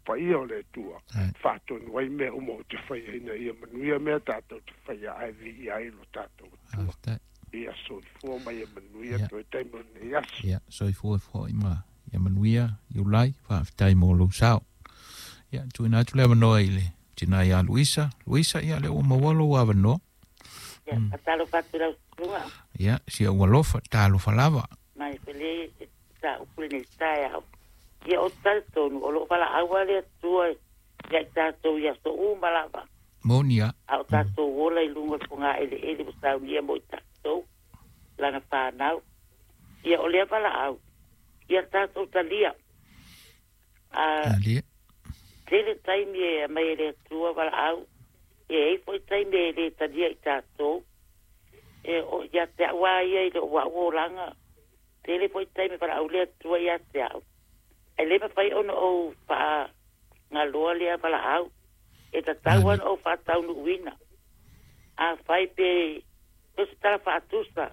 Paia o le Atua faatonu ai mea uma ou te faia ina ia manuia mea tatou te faia ae viia ai lo tatou Atua. Ia soifua ma ia manuia toe taimi o lenei aso. Ia soifua foi ma ia manuia Iulai, faafetai mo lou sao. Ia tuuina atu le avanoa i le tina ia Luisa. Luisa, ia lea ua maua lou avanoa. Ia, faatalofa atu i lau susuga. Ia, si ou alofa, talofa lava. Mai pele ta upu lenei taeao. Ia ou te talitonu o lo o valaau lava le Atua ia i tatou i aso uma lava. Moni a. A o tatou ola i luga o le fogaeleele ua saunia mo i tatou, lana fanau. Ia o lea valaau, ia tatou talia. A tele taimi e aumai e le Atua valaau, e i ai foi taimi e le talia i tatou. E o ia te au lava ia i lou au olaga, tele foi taimi e valaau le Atua ia te au. Ae le mafai ona ou faagaloa lea valaau, e tatau lava ona ou faataunuuina. Afai pe o se tala faatusa,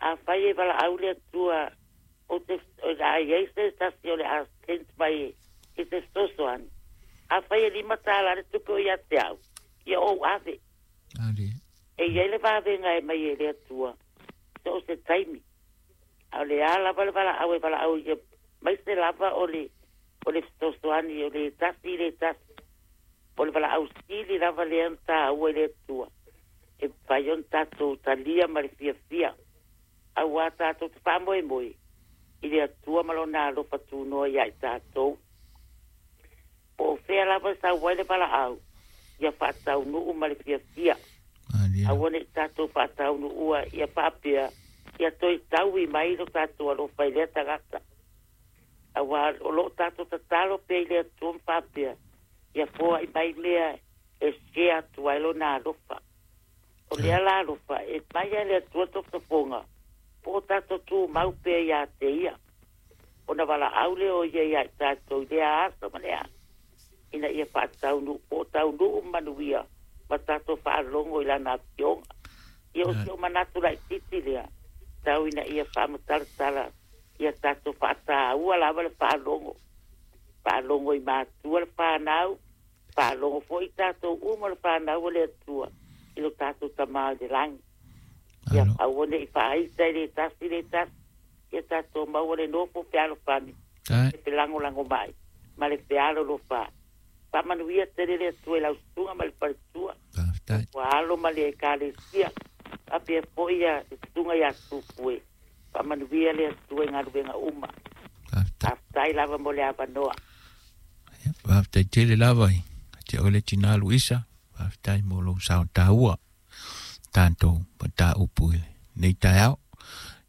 afai e valaau le Atua ou te o le a i ai se tasi o le a send mai i se fesoasoani, afai e $5 le tupe o ia te au, ia ou ave. E i ai le vavega e mai e le Atua so o se taimi. A o le a lava le valaau e valaau ia maise lava o le o le fesoasoani o le tasi i le tasi. O le valaau sili lava lea na taua i le Atua e mafai ona tatou talia ma le fiafia auā tatou te faamoemoe i le Atua ma Lona alofa tunoa iā i tatou. Po o fea lava e sau ai le valaau, ia faataunuu ma le fiafia. Aua ne i tatou faataunuua ia faapea ia toe taui mai lo tatou alofa i lea tagata. Auā o lo o tatou tatalo pea i le Atua ma faapea, ia foai mai mea e share atu ai lona alofa. O lea la alofa e mai lava e le Atua tofotofoga po o tatou tumau pea ia te ia. Ona valaau lea o ia ia i tatou i lea aso ma lea aso, ina ia faataunuu po o taunuu manuia ma tatou faalogo i lana afioga. Ia o si ou manatu laitiiti lea, tau ina ia faamatalatala ia tatou faataua lava le faalogo. Faalogo i matua le fanau, faalogo foi i tatou uma le fanau a le Atua i lo tatou Tama i le lagi. Ia aua ne i faaita i le tasi le tasi, ia tatou maua le nofo fealofani, le felagolago mai ma le fealolofa. Faamanuia tele le Atua i lau susuga ma le faletua, ua alo ma le Ekalesia, faapea foi ia le susuga ia Tupue. Faamanuia le Atua i galuega uma. Faafetai lava mo le avanoa. Faafetai tele lava i te oe le tina Luisa. Faafetai mo lou sao taua tatou mataupu i lenei taeao.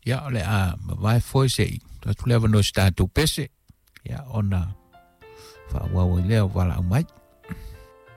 Ia, o le a mavae foi se i atu le avanoa i se tatou pese, ia, ona faaauau ai lea o valaau mai.